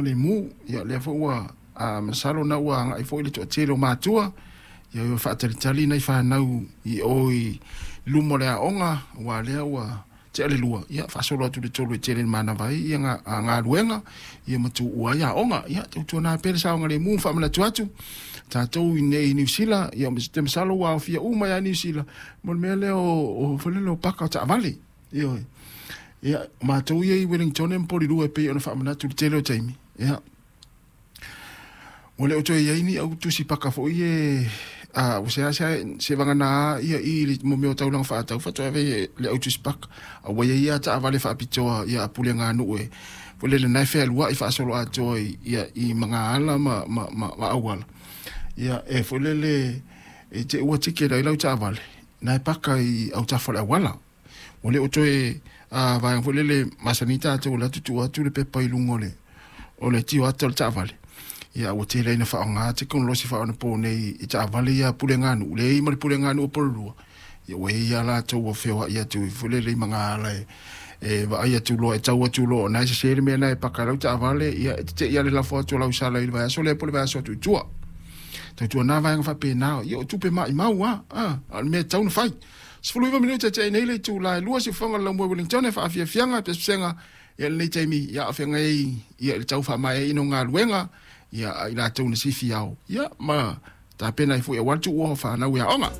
Lemu. Ia lea foi ua masalo na ua agai foi le toatele o matua ia ua faatalitali nai fanau i o i luma o le aoga, aua lea ua tea le 2, ia faasolo atu le 3 e tele ina manava ai ia galuega ia ma tuua ai aoga. Ia tautuana pea le saogalemu ma faamanatu atu tatou i inei i Niu Sila, ia ou te masalo ua aofia uma ai lava Niu Sila mo le mea lea o foi lele o paka o taavale. Ioe. Ia, o matou ia i Wellington ma Porirua e pei ona faamanatu i le tele o taimi, ia, ua le o toe i ai ni au tusi paka foi ia ua seasea seivagana ia i le mo mea o taulaga faatau faatoa ave ai le au tusi paka. A ua i ai lava taavale faapitoa ia a puleganuu e foi lele na e fealuai faasoloatoa i, ia, i magaala ma auala. Ia, e foi lele e te ua ticket ai lau taavale, na e paka i autafa o le auala. Ua le o toe vaega foi lele masani tatou o le atu tuu atu le pepa i luga o le tioata o le taavale. Ia ua tele ai ina faaaoga tekonolosi faaonaponei i taavale ia a puleganuu, leai ma le puleganuu o Porirua, ia ua i ai lava latou ua feoai atu foi lele i magaala e vaai atu loa, e tau atu loa o na e sese le mea na e paka ai lau taavale, ia e tetei lava le lafo atu o lau sala i le vaiaso lea po o le vaiaso atu i tua. Tautuana vaega faapena, ia o tupe maumau lava, a o le mea e tatau ona fai. 19 minute tea nei le itula e 2 siufofoga o le laumua i Wellington e faafiafiaga pesepesega ia lenei taimi ia o feagai ai ia i le tau faamaeaina o galuega ia a i latou na sifi ao ia ma tapena ai foi aua le tuua o fanau i aoga.